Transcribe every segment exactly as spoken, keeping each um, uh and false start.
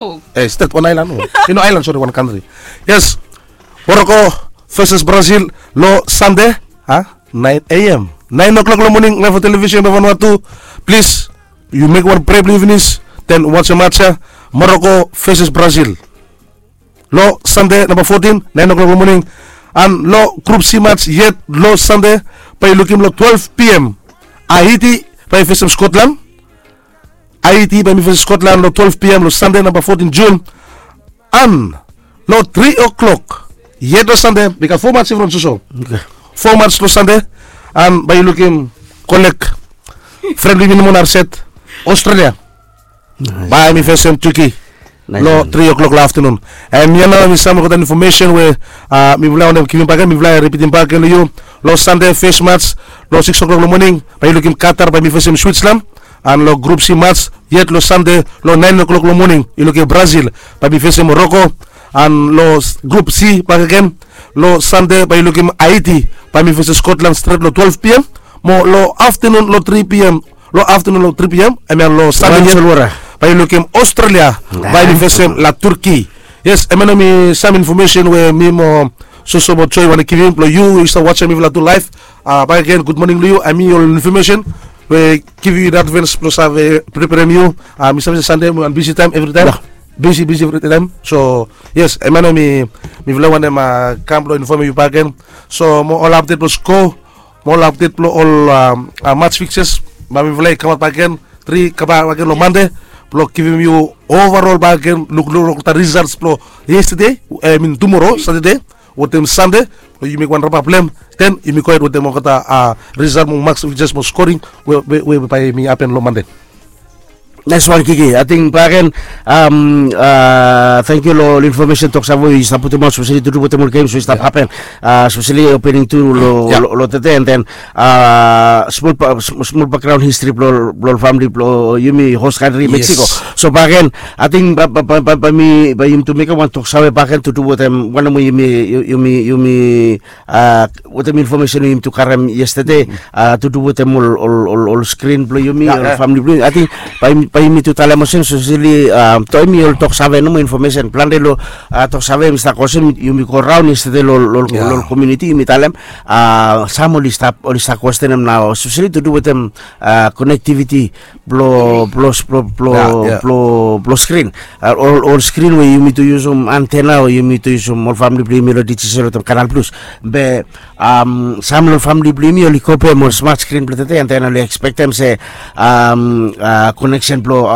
Eh, stet, wan aelan. I no aelan, sori, wan kantri. Yes. Moroko veses Brazil long Sande, a, naen a.m., naen o'klok long moning, laef long televisen blong Vanuatu. Plis, yu mekem wan prea blong yu finis, den wasem mats ya. Moroko veses Brazil long Sande namba fotin, naen o'klok long moning. An long Grup C mats yet long Sande, bae yu lukim long twelve p.m., Haiti bae i fesem Scotland. Haiti bae i fesem Scotland long twelve p.m. long Sande namba fotin Jun. An long tri o'klok yet long Sande, mi gat fo mats in front soso. Fo mats long Sande, an bae yu lukim kolek fren blong yumi nomo na set, Australia bae i fesem Turkey long tri o'klok long aftenun. An hemia nao hemi sam olgeta infomesen we mifala wantem givim bakegen, mifala ripitim bakegen long yu. Long Sande fes mats long sikis o'klok long moning, bae yu lukim Qatar bae i fesem Switzerland. An long Grup C mats yet long Sande long naen o'klok long moning, yu lukim Brazil bae i fesem Moroko. An long Grup C bakegen, long Sande bae yu lukim Haiti bae i fesem Scotland stret long twelve p.m. Mo long aftenun long tri p.m., long aftenun long tri p.m., hemia long Sande yet, bae yu lukim Australia bae i fesem La Turquie. Yes, hemia nao hemi sam infomesen we mi mo soso mo Joe i wantem givim blong yu we yu stap wasem mifala tu laef. Bakegen, gud moning long yu. Hemi ol infomesen we givim yu advens blong save preperem yu. Mi save se Sande hemi wan bisi taem evritaem. Bisi, bisi evritaem. So yes, hemia nao hemi, mifala wantem kam blong infomem yu bakegen. So mo ol apdet blong sko, mo ol apdet blong ol mats fikses, bae mifala i kamaot bakegen, tri, kambak bakegen long Mande blong givim yu overall bakegen, lukluk long olgeta risals blong yestede, I mean tumoro, Satade wetem Sande, blong yu mekem wan rapap blong hem. Den yumi gohed wetem olgeta risal mo mats fikses mo skoring we, we, we bae i hapen long Mande. Naes wan, Kiki. Ating bakegen, tangkiu long ol infomesen, toksave we yu stap putumaot, speseli tudu wetem ol gems we i stap hapen, speseli opening tu long, long, long tede, and then smol, smol bakgraon histri blong, blong famili blong yumi hos kantri Mexico. So bakegen, ating bae, bae, bae, bae mi, bae yumi tu mekem wan toksave bakegen tudu wetem wanem we yumi, yumi, yumi wetem infomesen we yumi tu karem yestede, tudu wetem ol, ol, ol, ol skrin blong yumi, ol famili blong yumi. Ating bae, bae yumi tu talem olsem, speseli, hemi ol toksave nomo infomesen. Plante long toksave hemi stap go olsem, yumi go raon yestede long, long, long komuniti, yumi talem, sam oli stap, oli stap kwestenem nao, speseli tudu wetem konektiviti blong, blong, blong, blong skrin. Ol, ol skrin we yumi tu yusum antena o yumi tu yusum ol famili blong yumi long Digicel wetem Canal Plus. Be sam long famili blong yumi oli kopem ol smat skrin blong tede, and then oli ekspektem se koneksen blong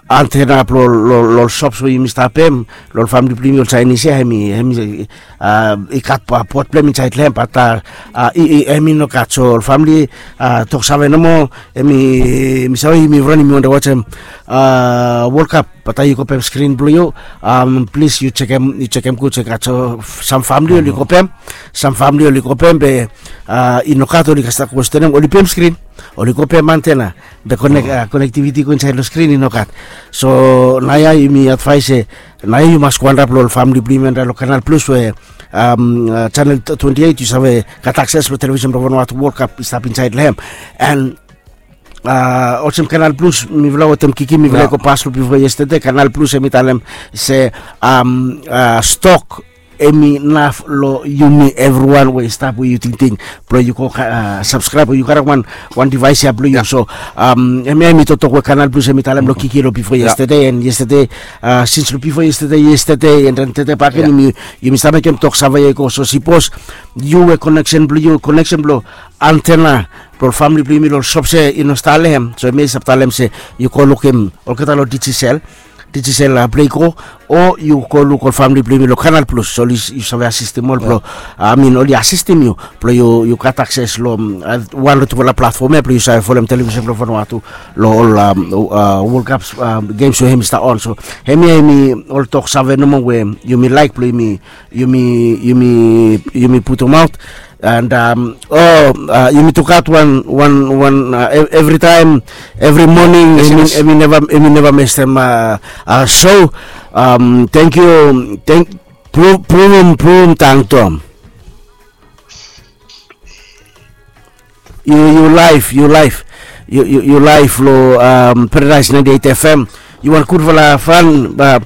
antena blong, long, long ol sops we yumi stap pem, long ol famili blong yumi ol Saenis ya, hemi, hemi i gat bot blong hem insaed long hem, bat i, i, hemi nogat. So ol famili, toksave nomo, hemi, mi save yumi evriwan yumi wantem wasem World Cup, bat yu kopem skrin blong yu, plis yu jekem, yu jekem gud se gat sam famili oli kopem, sam famili oli kopem be i nogat, oli stap kwestenem, oli pem skrin, oli kopem antena, be konek, konektiviti i go insaed long skrin i nogat. So naoia yumi advaes se naoia yu mas go antap long ol famili blong yumi antap long Canal Plus we, chanel twenti eit, yu save gat akses blong televisen blong Vanuatu, World Cup i stap insaed long hem. And olsem Canal Plus, mifala wetem Kiki mifala i go pas long bifo yestede, Canal Plus hemi talem se stok hemi naf long yumi evriwan we i stap we yu tingting blong yu go sapskraeb o yu karem wan, wan divaes ya blong yu. So hemia hemi toktok we Canal Plus hemi talem long Kiki long bifo yestede, and yestede, sins long bifo yestede, yestede, and then tede bakegen yumi, yumi stap mekem toksave ya i go. So sipos yu we koneksen blong yu, koneksen blong antena blong ol famili blong yumi long ol sops ya i no stap long hem, so hemia i stap talem se yu go lukim olgeta long Digicel, Digicel Play Go, o yu go luk ol famili blong yumi long Canal Plus, oli, yu save asistem ol blong, I mean oli asistem yu blong yu, yu gat akses long wan long tufala platfom ya blong yu save folem televisen blong Vanuatu long ol World Cup gems we hemi stap on. So hemia hemi ol toksave nomo we yumi laek blong yumi, yumi, yumi, yumi putumaot. And o yumi tu gat wan, wan, wan, evritaem, evri moning, hemi neva, hemi neva mestem so. Tangkiu, tang, pru, pruvum, pruvum tangtom. Yu, yu laef, yu laef, yu, yu, yu laef long Paradise ninety-eight F M. Yu wan gudfala fan ba